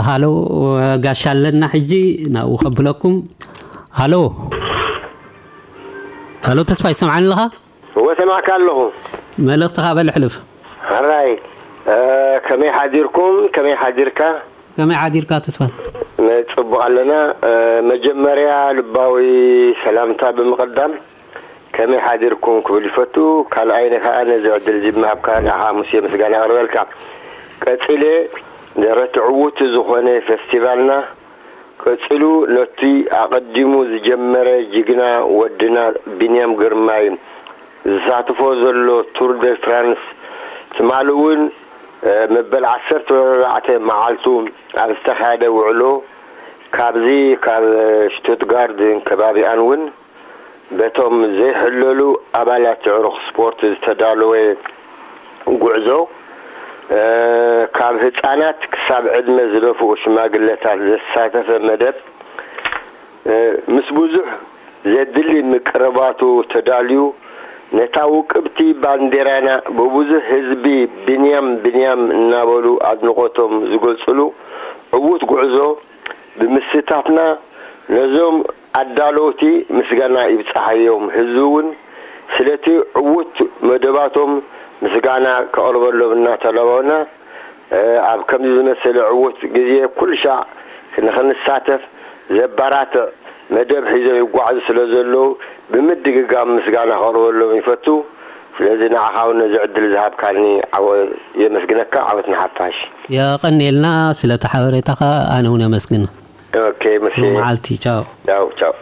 ሃሎ፣ ጋሻ ኣለና ሕጂ ናብኡ ከብለኩም። ሃሎ፣ ሃሎ፣ ተስፋ ይሰምዓኒ ኣለኻ? እወ፣ ሰማዕካ ኣለኹ። መልእኽትኻ በል ሕልፍ። ሕራይ፣ ከመይ ሓዲርኩም? ከመይ ሓዲርካ? ከመይ ሓዲርካ ተስፋ? ጽቡቕ ኣለና። መጀመርያ ልባዊ ሰላምታ ብምቕዳም ከመይ ሓዲርኩም ክብል ይፈቱ። ካልኣይኒ ከኣ ነዚ ዕድል እዚ ብምሃብካ ንዓኻ ሙሴ ምስጋና ኣቕርበልካ። ቀጺለ ደረቲ ዕዉት ዝኾነ ፌስቲቫልና ቀጺሉ ነቲ ኣቐዲሙ ዝጀመረ ጅግና ወድና ቢንያም ግርማይ ዝሳተፎ ዘሎ ቱር ደ ፍራንስ ትማሊ እውን መበል ዓሰርተ ኣርባዕተ መዓልቱ ኣብ ዝተኻየደ ውዕሎ ካብዚ ካብ ሽቱትጋርድን ከባቢኣን እውን በቶም ዘይሕለሉ ኣባላት ኣዕሩኽ ስፖርት ዝተዳለወ ጉዕዞ ካብ ህፃናት ክሳብ ዕድመ ዝደፍኡ ሽማግለታት ዘሳተፈ መደብ ምስ ብዙሕ ዘድሊ ምቅርባቱ ተዳልዩ ነታ ውቅብቲ ባንዴራና ብብዙሕ ህዝቢ ብንያም ብንያም እናበሉ ኣድንቆቶም ዝገልፅሉ ዕዉት ጉዕዞ ብምስታፍና ነዞም ኣዳለውቲ ምስጋና ይብፃሓዮም። ህዝቢ እውን ስለቲ ዕዉት መደባቶም ምስጋና ከቕርበሎም እናተላበውና ኣብ ከምዚ ዝመሰለ ዕዉት ግዜ ኩሉ ሻዕ ንኽንሳተፍ ዘባራትዕ መደብ ሒዞም ይጓዓዙ ስለ ዘለዉ ብምድግጋም ምስጋና ከቕርበሎም ይፈቱ። ስለዚ ንዓኻ እውን ነዚ ዕድል ዝሃብካኒ ዓወ የመስግነካ። ዓወት ንሓፋሽ። የቐንየልና ስለቲ ሓበሬታኻ ኣነ እውን የመስግን። ኦኬ፣ መሲ። መዓልቲ፣ ቻው። ቻው፣ ቻው።